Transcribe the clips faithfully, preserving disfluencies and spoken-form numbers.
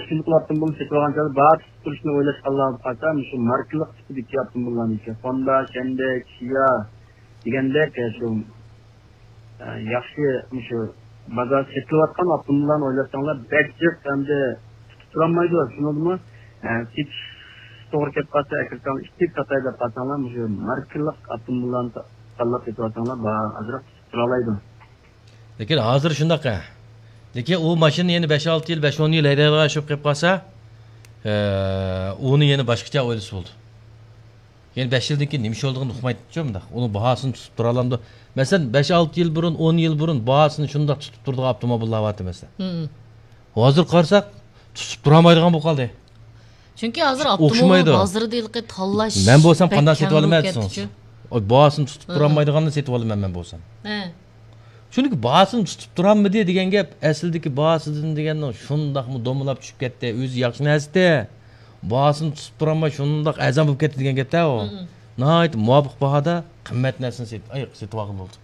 شۇنداق ئاپتوموبىل سېتىۋالغان چاغدا بار تۇتۇپ تۇرۇشنى ئويلاشقانلارغا قارىسا، مۇشۇ ماركىلىق تىپىدىكى ئاپتوموبىللارنى، ھوندا، شەندە، كىيا دېگەندەك، شۇ، ئە، ياخشى، مۇشۇ بازار سېتىلىۋاتقان ئاپتوموبىللارنى ئويلاشساڭلار، بەك جىق ھەمدە تۇتۇپ تۇرالمايدۇ. شۇنىڭدىمۇ، ئە، سېتىش توغرا كېلىپ قالسا، ئەكىرسەڭلار، ئىككى ساتاي دەپ قالساڭلار، مۇشۇ ماركىلىق ئاپتوموبىللارنى تاللاپ سېتىۋالساڭلار، بار ئازراق تۇتۇپ تۇرالايدۇ. لېكىن ھازىر شۇنداق، ھە. لېكىن ئۇ ماشىنا يەنە بەش-ئالتە يىل، بەش-ئون يىل ھەيدەيدىغان ئىش بولۇپ قېلىپ قالسا، ئە، ئۇنى يەنە باشقىچە ئويلىسا بولىدۇ. يەنە بەش يىلدىن كېيىن نېمە ئىش بولىدىغىنىنى ئۇقمايدۇچۇ مۇنداق. ئۇنىڭ باھاسىنى تۇتۇپ تۇرالامدۇ؟ مەسىلەن، بەش-ئالتە يىل بۇرۇن، ئون يىل بۇرۇن باھاسىنى شۇنداق تۇتۇپ تۇرىدىغان ئاپتوموبىللار بارتى، مەسىلەن. مم. ھازىر قارىساق، تۇتۇپ تۇرالمايدىغان بولۇپ قالدى. چۈنكى ھازىر ئوخشىمايدۇ. ئاپتوموبىل بازىرىدا ھېلىقى تاللاش مەن بولسام بەك قانداق كەڭ سېتىۋالىمەن بولۇپ دېسىڭىز؟ كەتتىچۇ. ئاي، باھاسىنى تۇتۇپ ھە. تۇرالمايدىغاننى سېتىۋالىمەن مەن بولسام. ھە. چۈنكى باھاسىنى تۇتۇپ تۇرالمىدى دېگەن گەپ، ئەسلىدىكى باھاسىدىن دېگەننىڭ شۇنداقمۇ دومىلاپ چۈشۈپ كەتتى. ئۆزى ياخشى نەرسىدى. باھاسىنى تۇتۇپ تۇرالماي شۇنداق ئەرزان بولۇپ كەتتى دېگەن گەپتە ئۇ. مم. ناھايىتى مۇۋاپىق باھادا قىممەت نەرسىنى سېت-، ئاي، سېتىۋالغىلى بولدى.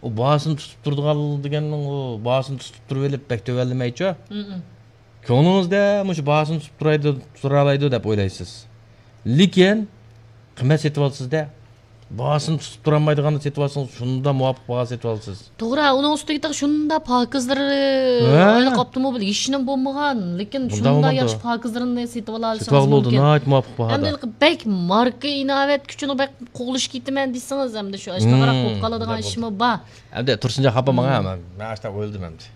ئۇ باھاسىنى تۇتۇپ تۇرىدىغان دېگەننىڭ ئۇ باھاسىنى تۇتۇپ تۇرۇۋېلىپ بەك تۆۋەنلىمەيچۇ. مم. كۆڭلىڭىزدە مۇشۇ باھاسىنى تۇتۇپ تۇرايدۇ، تۇرالايدۇ دەپ ئويلايسىز. لېكىن قىممەت سېتىۋالىسىز-دە. باھاسىنى تۇتۇپ تۇرالمايدىغاننى سېتىۋالسىڭىز، شۇنداق مۇۋاپىق باھا سېتىۋالىسىز. توغرا، ئۇنىڭ ئۈستىگە تېخى شۇنداق پاكىزلىرى، ھە. ئايلىق ئاپتوموبىل ھېچنېمە بولمىغان، لېكىن مۇنداق شۇنداق بولمامدۇ؟ ياخشى پاكىزلىرىنى سېتىۋالالىسىڭىز سېتىۋالغىلى بولىدۇ، مۇمكىن. ناھايىتى مۇۋاپىق باھادا. ئەمدى بەك ماركا ئىناۋەت كۈچىنى بەك قوغلىشىپ كېتىمەن دېسىڭىز، ئەمدى شۇ ئاشۇنداقراق مم، بولۇپ قالىدىغان شۇنداق ئىشمۇ بولىدۇ. بار. ئەمدى تۇرسۇنجان خاپا ماڭا، مم. مەن، مەن ئاشۇنداق ئويلىدىم ئەمدى.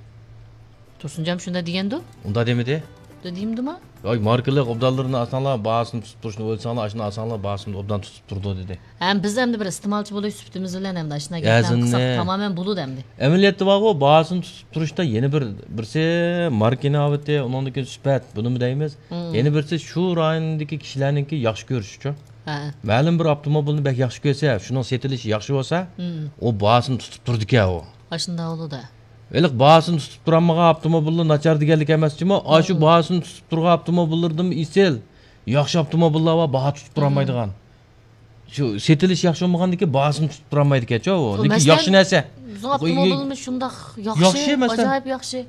تۇرسۇنجانمۇ شۇنداق دېگەندۇ؟ ئۇنداق دېمىدى؟ شۇنداق دېمىدىما؟ ياق، ماركىلىق ئوبدانلىرىنى ئالساڭلار، باھاسىنى تۇتۇپ تۇرۇشنى ئويلىساڭلار، ئاشۇنى ئالساڭلار، باھاسىنى ئوبدان تۇتۇپ تۇرىدۇ، دېدى. ھەم بىز ئەمدى بىر ئىستېمالچى بولۇش سۈپىتىمىز بىلەن ئەمدى ئاشۇنداق گەپلەرنى قىلساق تامامەن بولىدۇ ئەمدى. ئەمەلىيەتتە بارغۇ، باھاسىنى تۇتۇپ تۇرۇشتا يەنە بىر، بىرسى ماركا ئىناۋىتى، ئۇنىڭدىن كېيىن سۈپەت، بۇنىمۇ دەيمىز. مم. يەنە بىرسى شۇ رايوندىكى كىشىلەرنىڭكى ياخشى كۆرۈشىچۇ. ھە. مەلۇم بىر ئاپتوموبىلنى بەك ياخشى كۆرسە، شۇنىڭ سېتىلىشى ياخشى بولسا، مم. ئۇ باھاسىنى تۇتۇپ تۇرىدىكەن ئۇ. ئاشۇنداق بولىدۇ. ھېلىقى باھاسىنى تۇتۇپ تۇرالمىغان ئاپتوموبىللار ناچار دېگەنلىك ئەمەس جۇمۇ، ئاشۇ مم. باھاسىنى تۇتۇپ تۇرغان ئاپتوموبىللىرىدىمۇ ئېسىل، ياخشى ئاپتوموبىللار بار، باھا تۇتۇپ مم. تۇرالمايدىغان. شۇ سېتىلىش ياخشى بولمىغاندىكىن باھاسىنى تۇتۇپ تۇرالمايدىكەنچۇ ئۇ. لېكىن مەسىلەن، ياخشى نەرسە. بىزنىڭ ئاپتوموبىلىمىز شۇنداق ياخشى، ياخشى، مەسىلەن. ئاجايىپ ياخشى.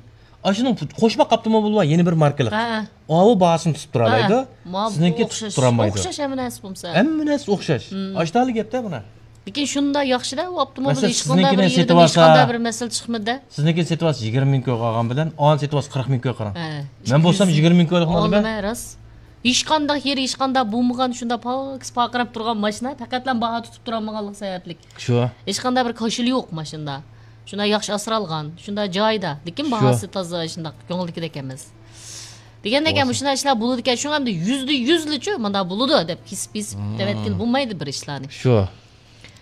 ئاشۇنىڭ قوشماق ئاپتوموبىلى بار، يەنە بىر ماركىلىق. ھە. ئاۋۇ باھاسىنى تۇتۇپ تۇرالايدۇ. ھە. ما، سىزنىڭكى ئوخشاش، تۇتۇپ تۇرالمايدۇ. ئوخشاش ھەممە نەرسە بولمىسا. ھەممە نەرسە ئوخشاش. مم. ئاشتالا گەپتە بۇنى. لېكىن شۇنداق ياخشىدا ئۇ ئاپتوموبىل مەسىلەن، ھېچقانداق بىر سىزنىڭكىنى يېرىدىن سېتىۋالسا، ھېچقانداق بىر مەسىلە چىقمىدى. سىزنىڭكىنى سېتىۋالسا يىگىرمە مىڭ كويغا ئالغان بىلەن، ئاۋۇنى سېتىۋالسا قىرىق مىڭ كويغا قاراڭ. ھە. مەن بولسام يىگىرمە مىڭ كويلۇقنى ئالىمەن. ئالىمەن، راست. ھېچقانداق يېرى، ھېچقانداق بولمىغان، شۇنداق پاكىز پارقىراپ تۇرغان ماشىنا، پەقەتلا باھا تۇتۇپ تۇرالمىغانلىقى سەۋەبلىك. شۇ. ھېچقانداق بىر كاشىلى يوق ماشىنىدا. شۇنداق ياخشى ئاسرالغان، شۇنداق جايىدا. لېكىن شۇ. باھاسى تازا شۇنداق كۆڭۈلدىكىدەك ئەمەس. دېگەندەك، بولسا. مۇشۇنداق ئىشلار بولىدىكەن. شۇڭا ئەمدى يۈزدە يۈزلىچۇ مۇنداق بولىدۇ دەپ كېسىپ، كېسىپ مم. دەۋەتكىلى بولمايدۇ بىر ئىشلارنى. شۇ.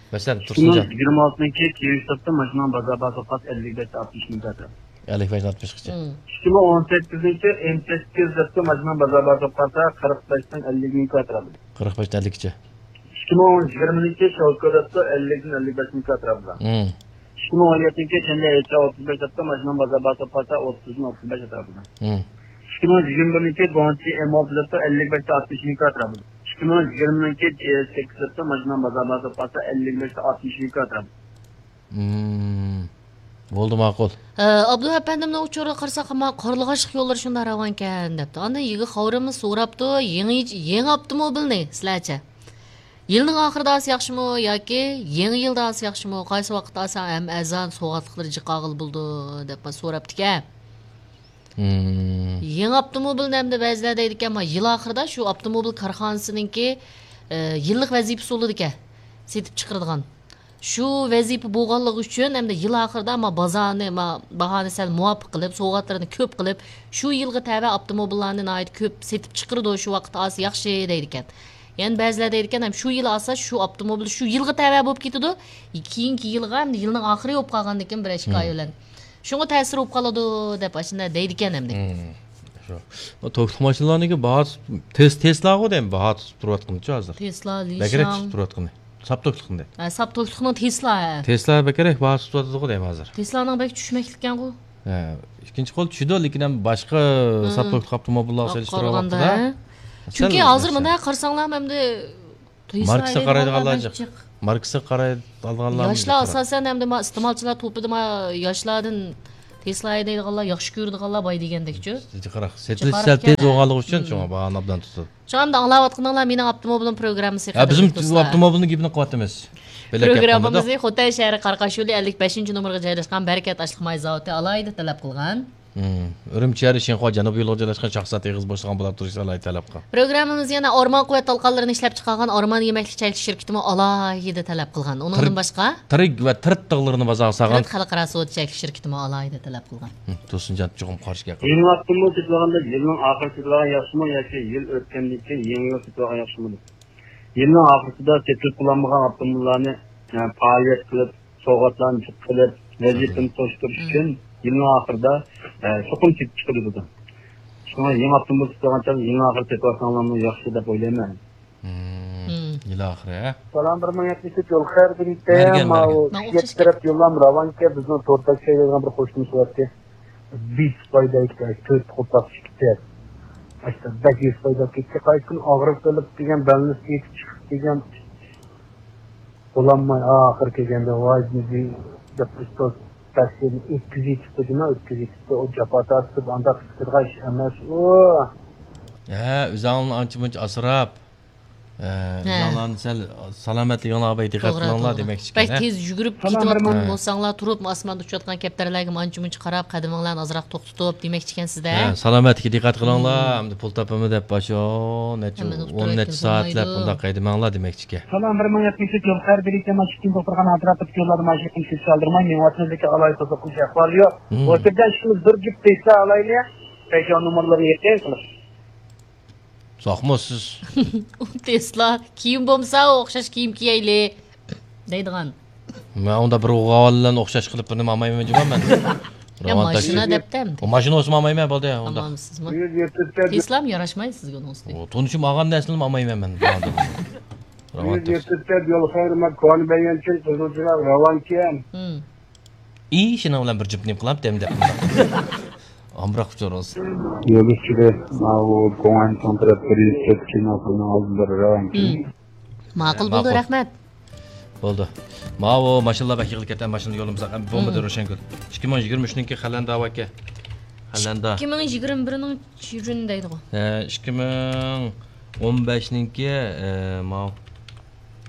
مەسىلەن، ئىككى مىڭ تۇرسۇنجان. يىگىرمە ئالتىنچى كىيىۋېستاپتا ماشىنىنىڭ بازار باھاسى ئەللىك بەشتىن ئاتمىش مىڭ كاترا. ئەللىك بەشتىن ئاتمىشقىچە. مم. ئىككى مىڭ ئون سەككىزىنچى ئېم سەككىز دەپتۇ ماشىنىنىڭ بازار باھاسى قارىسا قىرىق بەشتىن ئەللىك مىڭ كاترا. قىرىق بەشتىن ئەللىككىچە. ئىككى مىڭ يىگىرمىنچى شاۋكا دەپتۇ ئەللىكتىن ئەللىك بەش مىڭ كاترا بىلەن. مم. ئىككى مىڭ ئون يەتتىنچى شەنبە ھېچ ئوتتۇز بەش دەپتۇ ماشىنىنىڭ بازار باھاسى قارىسا ئوتتۇزدىن ئوتتۇز بەش كاترا بىلەن. مم. ئىككى مىڭ يىگىرمە بىرىنچى گۇاڭچى ئېم ئالتە دەپتۇ ئەللىك بەشتە ئاتمىش مىڭ كاترا بىلەن. ئىككى مىڭ يىگىرمىنىڭكى جي ئېس سەككىز دەپتۇ ماشىنىنىڭ بازار باھاسى قارىسا ئەللىك بەشتە ئاتمىش مىڭ كاترا بىلەن. مم. بولدى، ماقۇل. ئە، ئابدۇ ئەپەندىمنىڭ ئۇچۇرىغا قارىساق، ئەمما قارلىغاچلىق يوللىرى شۇنداق راۋانكەن، دەپتۇ. ئاندىن يىگىت خەۋىرىمىز سوراپتۇ، يېڭى، يېڭى ئاپتوموبىلنى سىلەرچە؟ يىلنىڭ ئاخىرىدا ئالسا ياخشىمۇ ياكى يېڭى يىلدا ئالسا ياخشىمۇ؟ قايسى ۋاقىتتا ئالسا ھەم ئەرزان، سوۋغاتلىقلىرى جىق ئالغىلى بولىدۇ، دەپ سوراپتىكەن. مم. يېڭى ئاپتوموبىلنى ئەمدى بەزىلەر دەيدىكەن، ما، يىل ئاخىرىدا شۇ ئاپتوموبىل كارخانىسىنىڭكى، ئە، يىللىق ۋەزىپىسى بولىدىكەن، سېتىپ چىقىرىدىغان. شۇ ۋەزىپە بولغانلىقى ئۈچۈن ئەمدى يىل ئاخىرىدا، ما، بازارنى، ما، باھانى سەل مۇۋاپىق قىلىپ، سوۋغاتلىرىنى كۆپ قىلىپ، شۇ يىلغا تەۋە ئاپتوموبىللارنى ناھايىتى كۆپ سېتىپ چىقىرىدۇ، شۇ ۋاقىتتا ئالسا ياخشى دەيدىكەن. يەنە بەزىلەر دەيدىكەن، ھەم شۇ يىل ئالسا شۇ ئاپتوموبىل شۇ يىلغا تەۋە بولۇپ كېتىدۇ، كېيىنكى يىلغا، ئەمدى يىلنىڭ ئاخىرى بولۇپ قالغاندىن كېيىن بىر ئىككى ئاي بىلەن. شۇڭا تەسىر بولۇپ قالىدۇ دەپ ئاشۇنداق دەيدىكەن ئەمدى. مم. شۇ. بۇ توكلۇق ماشىنىلارنىڭكى باھاسى تېس-، تېسلاغۇ دەيمەن، باھا تۇتۇپ تۇرۇۋاتقىنىچۇ ھازىر. تېسلا، بەكرەك لىشاڭ. تۇتۇپ تۇرۇۋاتقىنى. ساپ توكلۇقنى دەيمەن. ھە، ساپ توكلۇقنىڭ تېسلا، ھە. تېسلا بەكرەك باھا تۇتۇۋاتىدىغۇ دەيمەن ھازىر. تېسلانىڭ بەك چۈشمەكلىككەنغۇ. ھە، ئىككىنچى قول چۈشىدۇ، لېكىن ھەم باشقا مم. ساپ توكلۇق ئاپتوموبىللارغا سېلىشتۇرغان قارىغاندا، ۋاقتىدا ھە. سەل چۈنكى ھازىر ئوخشاش. مۇنداق قارىساڭلار ئەمدى ماركىسىغا قارايدىغانلار جىق. ماركىسىغا قارايدىغانلار ياشلار ئاساسەن ئەمدى ما ئىستېمالچىلار توپىدا ما ياشلاردىن تېسلا ھەيدەيدىغانلار، ياخشى كۆرىدىغانلار باي دېگەندەكچۇ. قاراق، سېتىلىش سەل تېز بولغانلىقى ئۈچۈن شۇڭا باھانى ئوبدان تۇتۇپ. شۇڭا ئەمدى ئاڭلاۋاتقىنىڭلار مېنىڭ ئاپتوموبىلىم پروگراممىسى ھە، بىزمۇ قەدىرلىك دوستلار. ئاپتوموبىلنىڭ گېپىنى قىلىۋاتىمىز. پروگراممىمىزنى خوتەن شەھىرى قاراقاش يولى ئەللىك بەشىنچى نومۇرغا جايلاشقان بەرىكەت ئاشلىق ماي زاۋۇتى ئالاھىدە تەلەپ قىلغان. ئۈرۈمچى شەھىرى شىنخۇا جەنۇبىي يولىغا جايلاشقان شاخسان ئېغىز بوشلۇقىنى بولۇپ تۇرۇشنى ئالاھىدە تەلەپ قىلغان. پروگراممىمىز يەنە ئورمان قۇۋۋەت تالقانلىرىنى ئىشلەپ چىقارغان ئورمان يېمەكلىك چەكلىك شىركىتىمۇ ئالاھىدە تەلەپ قىلغان. ئۇنىڭدىن باشقا تىرىك ۋە تىرىت تاغلىرىنى بازارغا سالغان تىرىت خەلقئارا سودا چەكلىك شىركىتىمۇ ئالاھىدە تەلەپ قىلغان. تۇرسۇنجان چوقۇم قارشى گەپ قىلدى. يېڭى ئاپتوموبىل سېتىۋالغاندا يىلنىڭ ئاخىرى سېتىۋالغان ياخشىمۇ ياكى يىل ئۆتكەندىن كېيىن يېڭى يىل سېتىۋالغان ياخشىمۇ دەپ. يىلنىڭ ئاخىرىسىدا سېتىلىپ بولالمىغان ئاپتوموبىللارنى، ئە، پائالىيەت قىلىپ، سوۋغاتلارنى قىلىپ، ۋەزىپىنى توشتۇرۇش ئۈچۈن يىلنىڭ ئاخىرىدا، ئە، چوقۇم سېتىپ چىقىرىدۇ. شۇڭا يېڭى ئاپتوموبىل سېتىۋالغان چاغدا يېڭى ئاخىرى سېتىۋالساڭلارمۇ ياخشى دەپ ئويلايمەن. يىل ئاخىرى، ھە؟ سالام، بىر مىڭ يەتمىش ئۈچ يول خەير بېرىڭ. ماۋۇ ئۈچ يەتتە تەرەپ يوللام راۋانكەن، بىزنىڭ تورداش شەيلەيدىغان بىر قوشنىمىز بارتى. بىس پايدا ئىكەن، تۆت قوپاق ئىككى تەر. ئاشتا بەك يۈز پايدا كەتتى. قايسى كۈنى ئاغرىپ قېلىپ دېگەن، بەلنىس يېتىپ چىقىپ دېگەن. بولالماي ئاخىرى كەلگەندە، ۋاي، دېدى، دەپ، ئۆستەڭ تەسىرنى ئۆتكۈزۈۋېتىپتۇ، جۇمۇ ئۆتكۈزۈۋېتىپتۇ. ئۇ جاپا تارتىپ، ئانداق قىلىدىغان ئىش ئەمەس ئۇ. ھە، ئۆزۈڭلارنى ئانچە مۇنچە ئاسراپ، ئە، ھە. ئۆزۈڭلارنى سەل سالامەتلىكىڭلارغا بەك دىققەت توغرا، قىلىڭلار توغرا. دېمەكچىكەن، بەك ھە؟ تېز يۈگۈرۈپ سالام، كېتىۋاتقان بىر مىڭ. بولساڭلار، تۇرۇپ ئاسماندا ئۇچۇۋاتقان كەپتەرلەرگىمۇ ئانچە مۇنچە قاراپ، قەدىمىڭلارنى ئازراق توختىتىپ دېمەكچىكەن سىزدە. ھە، سالامەتلىككە دىققەت قىلىڭلار، ئەمدى پۇل تاپىمەن دەپ باشۇ نەچچە، ھەممىنى ئۇتتۇرۇپ ئون نەچچە سائەتلەپ بۇنداق ھەيدىمەڭلار دېمەكچىكەن. سالام، بىر مىڭ يەتمىش ئۈچ يول خەير بېرىكتە ماشىنا توختىغان ئەتراپىدىكى يوللاردا ماشىنا كۈچ چالدۇرماي مېڭىۋاتىمىز، لېكىن ئالاھىدە توسۇقلىنىش ئەھۋالى يوق. بۇ يەردە ئىككىمىز بىر جۈپ تېسلا ئالايلى، پەيجان نومۇرلىرىنى يېقىن قىلىپ. ساقمۇ سىز؟ ئۇ تېسلا، كىيىم بولمىسا ئوخشاش كىيىم كىيەيلى دەيدىغان. مەن ئۇندا بىر ئوغۇل بىلەن ئوخشاش قىلىپ بىر نېمە ئالمايمەن جۇما مەن. يا، ماشىنا دەپتە ئەمدى. ئۇ ماشىنا بولسىمۇ ئالمايمەن بولدى ئۇنداق. ئالمامسىزمۇ؟ تېسلام ياراشمايدۇ سىزگە ئۇنىڭ ئۈستىگە. ئۇ تونۇشۇم ئالغان نەرسىنىمۇ ئالمايمەن مەن. يۈز يەتتە يول خەير، مەن كونا بەيگەنچىن قىزىل چىراغ راۋانكەن. ئى، شۇنىڭ بىلەن بىر جۈپ نېمە قىلامتىم دەپ. ئامراق ئۇچۇر بولسۇن. يول ئۈستىدە ماۋۇ گۇڭئەن چوڭ تەرەپ بىر يۈز تۆت كىنو خىلنىڭ ئالدىدا راۋانكەن. ماقۇل بولدى، ماقۇل. رەھمەت. بولدى. ماۋۇ ماشىنىلار بەك يىغىلىپ كەتتى، ماشىنا يولىمىزغا بولمىدى، روشەنگۈل. ئىككى مىڭ يىگىرمە ئۈچنىڭكى خەلەندا ئاكا. خەلەندا. ئىككى مىڭ يىگىرمە بىرنىڭ چۈرۈن دەيدىغۇ. ھە، ئىككى مىڭ ئون بەشنىڭكى، ئە، ماۋۇ.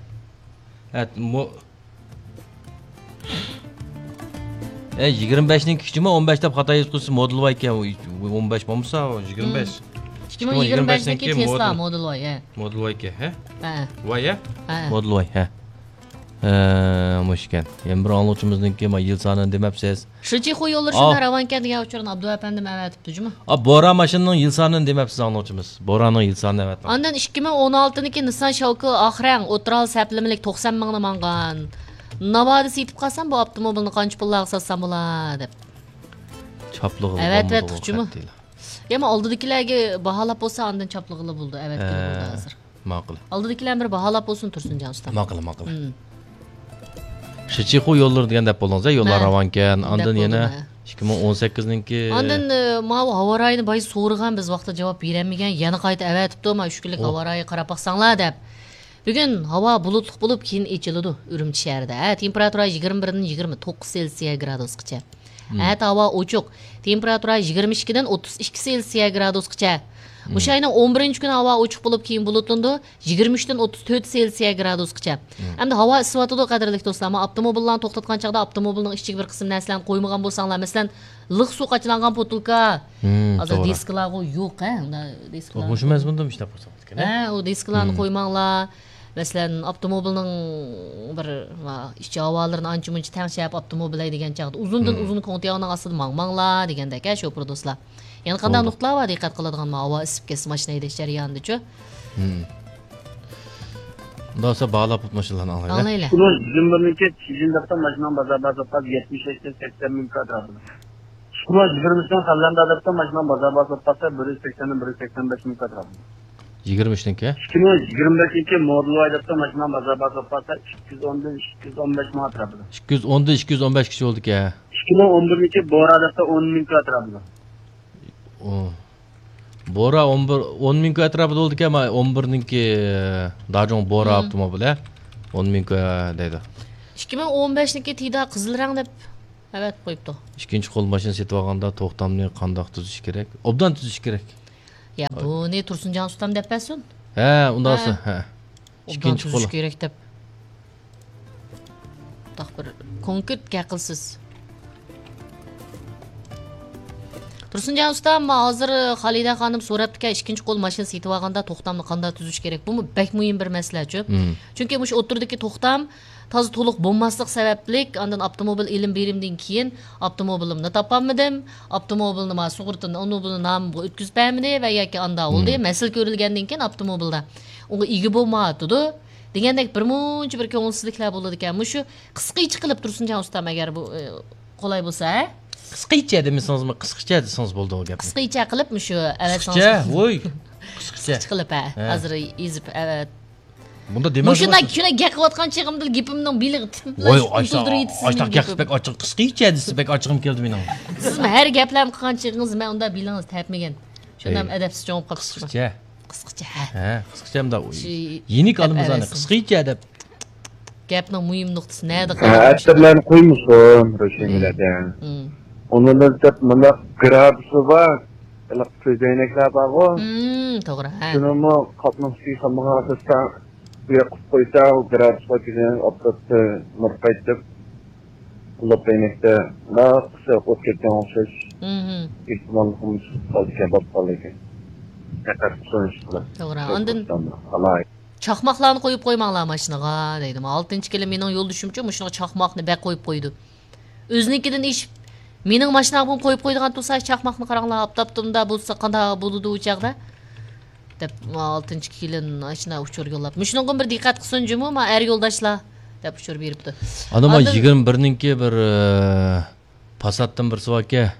ھە، مو-، ئە، يىگىرمە بەشنىڭكى كىچىكمۇ، ئون بەش دەپ خاتا يېزىپ قويسىز، مودېل ۋاي ئىكەن، ئون بەش بولمىسا، يىگىرمە بەش. ئىككى مىڭ يىگىرمە بەشنىڭكى تېسلا مودېل ۋاي، ھە. مودېل ۋاي ئىكەن، ھە؟ ھە. ۋاي، ھە؟ ھە. مودېل ۋاي، ھە. ھە، مۇشۇ ئىكەن. يەنە بىر ئاڭلىغۇچىمىزنىڭكى، ما، يىل سانىنى دېمەپسىز. شىچىخۇ يوللىرى شۇنداق راۋانكەن دېگەن ئۇچۇرنى ئابدۇ ئەپەندىم ئەۋەتىپتۇ جۇمۇ. ئا، بورا ماشىنىنىڭ يىل سانىنى دېمەپسىز ئاڭلىغۇچىمىز. بورانىڭ يىل سانىنى ئەۋەتمەڭ. ئاندىن ئىككى مىڭ ئون ئالتىنىڭكى نىسسان شاۋكى ئاق رەڭ، ئوتتۇرا ھال سەپلىمىلىك توقسان مىڭنى ماڭغان. ناۋادا سېتىپ قالسام، بۇ ئاپتوموبىلنى قانچە پۇللارغا ساتسام بولا دەپ. چاپلىغىلى ئەۋەتىۋەتتۇق جۇمۇ. يا، مانا ئالدىدىكىلەرگە باھالاپ بولسا، ئاندىن چاپلىغىلى بولىدۇ، ئەۋەتكىلى بولىدۇ ھازىر. ماقۇل. ئالدىدىكىلەر بىر باھالاپ بولسۇن، تۇرسۇنجان ئۇستام. ماقۇل، ماقۇل. شىچىخۇ يوللىرى دېگەن دەپ بولدىڭىز، ھە، يوللار راۋانكەن. ئاندىن يەنە ئىككى مىڭ ئون سەككىزنىڭكى. ئاندىن، ئە، ماۋۇ ھاۋا رايىنى بايا سورىغان، بىز ۋاقتىدا جاۋاب بېرەلمىگەن، يەنە قايتا ئەۋەتىپتۇ، مانا ئۈچ كۈنلۈك ھاۋا رايى قاراپ باقساڭلار دەپ. بۈگۈن ھاۋا بۇلۇتلۇق بولۇپ، كېيىن ئېچىلىدۇ ئۈرۈمچى شەھىرىدە. ھە، تېمپېراتۇرا يىگىرمە بىردىن يىگىرمە توققۇز سېلسىيە گرادۇسقىچە. ئەتە ھاۋا ئوچۇق. تېمپېراتۇرا يىگىرمە ئىككىدىن ئوتتۇز ئىككى سېلسىيە گرادۇسقىچە. مۇشۇ ئاينىڭ ئون بىرىنچى كۈنى ھاۋا ئوچۇق بولۇپ، كېيىن بۇلۇتلىنىدۇ. يىگىرمە ئۈچتىن ئوتتۇز تۆت سېلسىيە گرادۇسقىچە. ئەمدى ھاۋا ئىسسىۋاتىدۇ، قەدىرلىك دوستلار. ئەمما ئاپتوموبىللارنى توختاتقان چاغدا ئاپتوموبىلنىڭ ئىچىگە بىر قىسىم نەرسىلەرنى قويمىغان بولساڭلار، مەسىلەن، لىق سۇ قاچىلانغان بوتۇلكا. ھازىر توغرا. دىسكىلارغۇ يوق، ھە؟ ئۇنداق دىسكىلار. مۇشۇ مەزمۇندا ئىشلەپ قويساڭىز. ھە، ئۇ دىسكىلارنى قويماڭلار. مەسىلەن، ئاپتوموبىلنىڭ بىر، ما، ئىچ ھاۋالىرىنى ئانچە مۇنچە تەڭشەپ، ئاپتوموبىل ھەيدىگەن چاغدا ئۇزۇندىن ئۇزۇن كوڭتىياڭنىڭ ئاستىدا ماڭماڭلار دېگەندەك، ھە، شوپۇر دوستلار. يەنە قانداق نۇقتىلار بار دىققەت قىلىدىغان، ما، ھاۋا ئىسسىپ كەتسە ماشىنا ھەيدەش جەريانىدىچۇ؟ ئۇنداق بولسا باھالاپ ماشىنىلارنى ئاڭلايلى. ئاڭلايلى. ئىككى مىڭ يىگىرمە بىرنىڭكى چىجىنداقتا ماشىنام بازار باھاسى يەتمىش ئىككى سەكسەن مىڭ كاتراپىدۇ. ئىككى مىڭ يىگىرمە ئۈچنىڭ خەللەندە ئادەتتە ماشىنام بازار باھاسى ئوتتۇراسى بىر يۈز سەكسەندىن بىر يۈز سەكسەن بەش مىڭ كاتراپىدۇ. يىگىرمە ئۈچنىڭكى؟ ئىككى مىڭ يىگىرمە بەشنىڭكى مودېل ۋاي ئادەتتە ماشىنام بازار باھاسى ئوتتۇراسى ئىككى يۈز ئوندىن ئىككى يۈز ئون بەش مىڭ ئەتراپىدا. ئىككى يۈز ئوندىن ئىككى يۈز ئون بەشكىچە بولىدىكەن. ئىككى مىڭ ئون بىرنىڭكى بورا ئادەتتە ئون مىڭ ئەتراپىدا. ئۇ. بورا ئون بىر، ئون مىڭ ئەتراپىدا بولىدىكەن، ما، ئون بىرنىڭكى داجۇڭ بورا ئاپتوموبىلى. ئون مىڭ دەيدۇ. ئىككى مىڭ ئون بەشنىڭكى تىدا قىزىل رەڭ دەپ ئەۋەتىپ قويۇپتۇ. ئىككىنچى قول ماشىنا سېتىۋالغاندا توختامنى قانداق تۈزۈش كېرەك؟ ئوبدان تۈزۈش كېرەك. يا، بۇنى تۇرسۇنجان ئۇستام دەپ بەرسۇن. ھە، ئۇنداق ھە. بولسا، ھە. ئوبدان ئىككىنچى تۈزۈش قول. كېرەك دەپ. بۇنداق بىر كونكرېت گەپ قىلسىز. تۇرسۇنجان ئۇستام، ھازىر خالىدە خانىم سوراپتىكەن، ئىككىنچى قول ماشىنا سېتىۋالغاندا توختامنى قانداق تۈزۈش كېرەك؟ بۇمۇ بەك مۇھىم بىر مەسىلەچۇ. مم. چۈنكى مۇشۇ ئوتتۇرىدىكى توختام تازا تولۇق بولماسلىق سەۋەبلىك، ئاندىن ئاپتوموبىل ئېلىم بېرىمدىن كېيىن ئاپتوموبىلىمنى تاپالمىدىم، ئاپتوموبىلنى ما سۇغۇرتىنى، ئاپتوموبىلنى نامىمغا ئۆتكۈزۈپ بەرمىدى ۋە ياكى ئاندا بولدى، مم. مەسىلە كۆرۈلگەندىن كېيىن ئاپتوموبىلدا ئۇنىڭغا ئىگە بولمايۋاتىدۇ دېگەندەك بىر مۇنچە بىر كۆڭۈلسىزلىكلەر بولىدىكەن. مۇشۇ قىسقىچە قىلىپ تۇرسۇنجان ئۇستام، ئەگەر بۇ، ئە، قولاي بولسا، ھە؟ قىسقىچە دېمىسىڭىزمۇ، قىسقىچە دېسىڭىز بولىدۇ ئۇ گەپنى. قىسقىچە قىلىپ مۇشۇ ئەۋەتسىڭىز. قىسقىچە؟ ۋوي. قىسقىچە. قىسقىچە قىلىپ، ھە. ھە. ھازىر يېزىپ ئەۋەت. بۇندا دېمەڭ. مۇشۇنداق كۈنە گەپ قىلىۋاتقان چېغىمدا گېپىمنىڭ بېلىغى تىتىلىپ ۋوي، ئۇزدۇرۇۋېتىسىز ئاشتاق مېنىڭ گەپ گېپىمنى. بەك ئاچچىق، قىسقىچە دېسە بەك ئاچچىقىم كەلدى مېنىڭ. سىزمۇ ھەر گەپلەرنى قىلغان چېغىڭىزدا مەن ئۇنداق بېلىڭىز تەپمىگەن. شۇنداق ئەي. ئەدەپسىز چوڭ قاپسىز. قىسقىچە. قىسقىچە، ھە. ھە، قىسقىچە ئەمدى شۇ يېنىك ئالىمىز ئەنە، قىسقىچە دەپ. گەپنىڭ مۇھىم نۇقتىسى نەدە ھە، قالغان؟ ئەتە مەن قويمىسۇن، روشەنگۈلەردە. مم. ئۇنىڭدىن دەپ مۇنداق گرادۇسى بار، ھېلىقى كۆزەينەكلەر بارغۇ. مم، توغرا، ھە. شۇنىمۇ قاپنىڭ ئۈستىگە سالمىغان ئاساستا بۇ ياققا قويسا، ئۇ گرادۇسقا كۆزەينەك ئاپتاپتا نۇر قايتىپ، قۇلۇپ ئەينەكتە ناقىسى ئوت كەتكەن ئوخشاش مم. ئېھتىماللىقىمىز قالدىكەن، بولۇپ قالدىكەن. دىققەت قىلسۇن ئىشقىلىپ. توغرا. ئاندىن قالاي. چاقماقلارنى قويۇپ قويماڭلار ماشىنىغا دەيدۇ. ئالتىنچى كېلىن مېنىڭ يولدىشىمچۇ مۇشۇنىڭغا چاقماقنى بەك قويۇپ قويىدۇ. ئۆزىنىڭكىدىن ئېشىپ، مېنىڭ ماشىنامغىمۇ قويۇپ قويىدىغان تۇرسا، چاقماقنى قاراڭلار، ئاپتاپتىمدا بولسا قانداق بولىدۇ ئۇ چاغدا؟ دەپ، ئالتىنچى كېلىن ئاشۇنداق ئۇچۇر يوللاپ. مۇشۇنىڭغا بىر دىققەت قىلسۇن جۇمۇ، ما ئەر يولداشلار، دەپ ئۇچۇر بېرىپتۇ. ئانا، ما ئاندىن يىگىرمە بىرنىڭكى بىر، ئە، پاساتتىن بىرسى باركەن،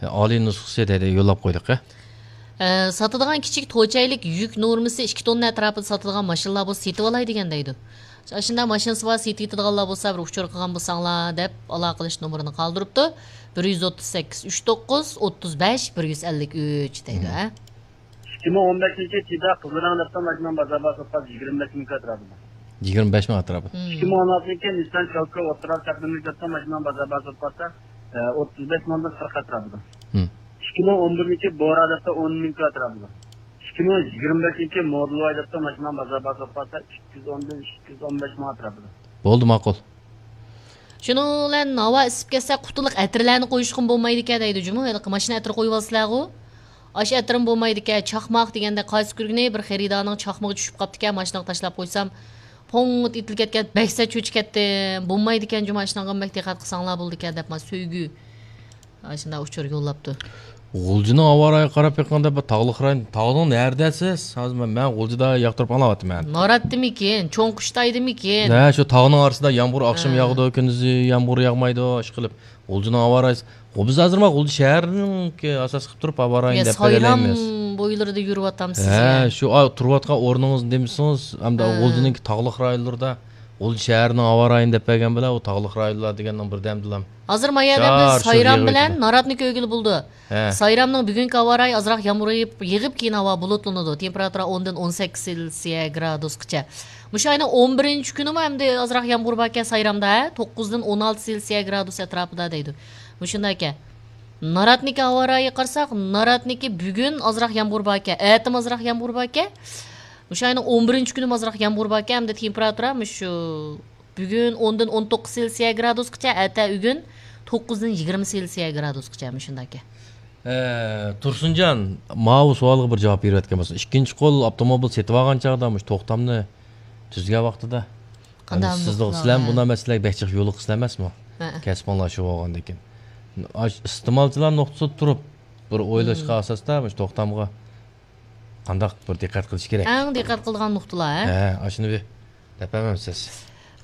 ئالىي نۇسخىسى دەيدۇ، يوللاپ قويدۇق، ھە. ئە، ساتىدىغان كىچىك توچەيلىك يۈك نورمىسى ئىككى توننا ئەتراپىدا ساتىدىغان ماشىنىلار بولسا سېتىۋالاي دېگەن دەيدۇ. ئاشۇنداق ماشىنىسى بار سېتىۋېتىدىغانلار بولسا بىر ئۇچۇر قىلغان بولساڭلار دەپ ئالاقىلىشىش نومۇرىنى قالدۇرۇپتۇ. بىر يۈز ئوتتۇز سەككىز، ئۈچ توققۇز، ئوتتۇز بەش، بىر يۈز ئەللىك ئۈچ دەيدۇ، ھە. ئىككى مىڭ ئون بەشىنچى تىدا قىزىل رەڭ دەپتۇ ماشىنىنىڭ بازار باھاسى يىگىرمە بەش مىڭ ئەتراپىدا. يىگىرمە بەش مىڭ ئەتراپىدا. مم. ئىككى مىڭ ئون ئالتىنچى نىسسان شالكا ئوتتۇرا سەپنىملىك دەپتۇ ماشىنىنىڭ بازار باھاسى ئوتتۇز بەش مىڭدىن قىرىق ئەتراپىدا. مم. ئىككى مىڭ ئون بىرىنچى بورا دەپتۇ ئون مىڭ ئەتراپىدا. ئىككى مىڭ يىگىرمە بەشىنچى مودېل ۋاي دەپتۇ ماشىنىنىڭ بازار باھاسى ئىككى يۈز ئوندىن ئىككى يۈز ئون بەش مىڭ ئەتراپىدا. بولدى، ماقۇل. شۇنىڭ بىلەن ھاۋا ئىسسىپ كەتسە، قۇتىلىق ئەتىرلەرنى قويۇشقىمۇ بولمايدىكەن دەيدۇ جۇمۇ. ھېلىقى ماشىنا ئەتىرى قويۇۋالىسىلەرغۇ. ئاشۇ ئەتىرمۇ بولمايدىكەن. چاقماق دېگەندە قايسى كۈرگىنى بىر خېرىدارنىڭ چاقمىقى چۈشۈپ قاپتىكەن، ماشىنىغا تاشلاپ قويسام، پوڭ ئېتىلىپ كەتكەن، بەك سەت چۆچۈپ كەتتىم. بولمايدىكەن جۇمۇ، ئاشۇنىڭغا بەك دىققەت قىلساڭلار بولىدىكەن دەپ، ما سۆيگۈ ئاشۇنداق ئۇچۇر يوللاپتۇ. غۇلجىنىڭ ھاۋا رايىغا قاراپ بېقىڭ دەپ، تاغلىق رايون. تاغنىڭ نەدىسىز؟ ھازىر مەن، مەن غۇلجىدا ياقتۇرۇپ ئاڭلاۋاتىمەن. ناراتتىمىكىن، چوڭقۇشتايدىمىكىن؟ ھە، شۇ تاغنىڭ ئارىسىدا يامغۇر ئاخشىمى ھە. ياغىدۇ، كۈندۈزى يامغۇر ياغمايدۇ، ئاشۇ قىلىپ. غۇلجىنىڭ ھاۋا رايى. غۇ-، بىز ھازىر ما غۇلجا شەھەرنىڭكى ئاساس قىلىپ تۇرۇپ ھاۋا رايىنى يا دەپ سايرام بېرەلەيمىز. بويلىرىدا يۈرۈۋاتامسىز ھە، يا؟ شۇ، ئا، تۇرۇۋاتقان ئورنىڭىز دېمىسىڭىز، ئەمدى ھە. غۇلجىنىڭكى تاغلىق رايونلىرىدا، غۇلجا شەھەرنىڭ ھاۋا رايىنى دەپ بەرگەن بىلەن، ئۇ تاغلىق رايونلار دېگەننىڭ بىردەمدىلا. ھازىر ما يەردە بىز شار شۇر سايرام يېغىۋېتىدۇ. بىلەن ناراتنىكى ئۆگىلى بولدى. ھە. سايرامنىڭ بۈگۈنكى ھاۋا رايى ئازراق يامغۇر يېغىپ، يېغىپ كېيىن ھاۋا بۇلۇتلىنىدۇ. تېمپېراتۇرا ئوندىن ئون سەككىز سېلسىيە گرادۇسقىچە. مۇشۇ ئاينىڭ ئون بىرىنچى كۈنىمۇ ئەمدى ئازراق يامغۇر باركەن سايرامدا، ھە؟ توققۇزدىن ئون ئالتە سېلسىيە گرادۇس ئەتراپىدا دەيدۇ. مۇشۇنداكەن. ناراتنىكى ھاۋا رايىغا قارىساق، ناراتنىكى بۈگۈن ئازراق يامغۇر باركەن، ئەتىمۇ ئازراق يامغۇر باركەن. مۇشۇ ئاينىڭ ئون بىرىنچى كۈنىمۇ ئازراق يامغۇر باركەن، ئەمدى تېمپېراتۇرا مۇشۇ بۈگۈن ئوندىن ئون توققۇز سېلسىيە گرادۇسقىچە، ئەتە ئۆگۈن توققۇزدىن يىگىرمە سېلسىيە گرادۇسقىچە مۇشۇنداكەن. ئە، تۇرسۇنجان، ماۋۇ سوئالغا بىر جاۋاب بېرىۋەتكەن بولسا، ئىككىنچى قول ئاپتوموبىل سېتىۋالغان چاغدا مۇشۇ توختامنى تۈزگەن ۋاقتىدا، قانداق يەنى سىزنىڭ، نۇقتىلار، سىلەر ھە. بۇنداق مەسىلىلەرگە بەك جىق يولۇقىسىز ئەمەسمۇ؟ ھە. كەسپىڭلار شۇ بولغاندىكىن. ئاش-، ئىستېمالچىلار نۇقتىسىدا تۇرۇپ، بىر ئويلاشقا مم. ئاساستا مۇشۇ توختامغا قانداق بىر دىققەت قىلىش كېرەك؟ ئەڭ دىققەت قىلىدىغان نۇقتىلار، ھە؟ ھە، ئاشۇنى بىر دەپ بەرمەمسىز؟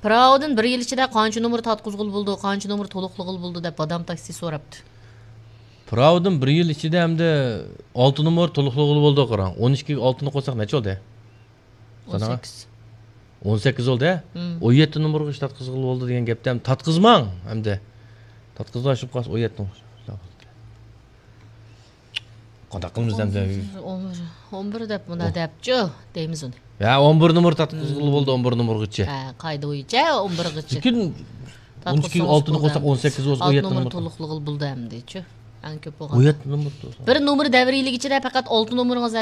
پىراۋىدىن بىر يىل ئىچىدە قانچە نومۇر تارتقۇزغىلى بولىدۇ، قانچە نومۇر تولۇقلىغىلى بولىدۇ دەپ بادام تاكسى سوراپتۇ. پىراۋىدىن بىر يىل ئىچىدە ئەمدى ئالتە نومۇر تولۇقلىغىلى بولىدۇ، قاراڭ. ئون ئىككىگە ئالتىنى قوشساق نەچچە بولدى؟ سانىغا؟ ئون سەككىز. ئون سەككىز بولدى، ھە؟ مم. ئون يەتتە نومۇرغا ئىش تارتقۇزغىلى بولىدۇ دېگەن گەپتە ئەمدى تارتقۇزماڭ ئەمدى. تارتقۇزماي شۇ قالسا ئون يەتتە نومۇر. قانداق قىلىمىز ئەمدى؟ ئون بىر، ئون بىر دەپ مۇنداق دەپچۇ دەيمىز ئۇنى. ھە، ئون بىر نومۇر تارتقۇزغىلى بولدى، ئون بىر نومۇرغىچە. ھە، قائىدە بويىچە ئون بىرغىچە. لېكىن ئون ئىككىگە ئالتىنى قوشساق، ئون سەككىز بولسا، ئون يەتتە نومۇر تولۇقلىغىلى بولدى ئەمدىچۇ. ئەڭ كۆپ بولغان. ئون يەتتە نومۇر. بىر نومۇر دەۋرىيلىك ئىچىدە پەقەت ئالتە نومۇرىڭىز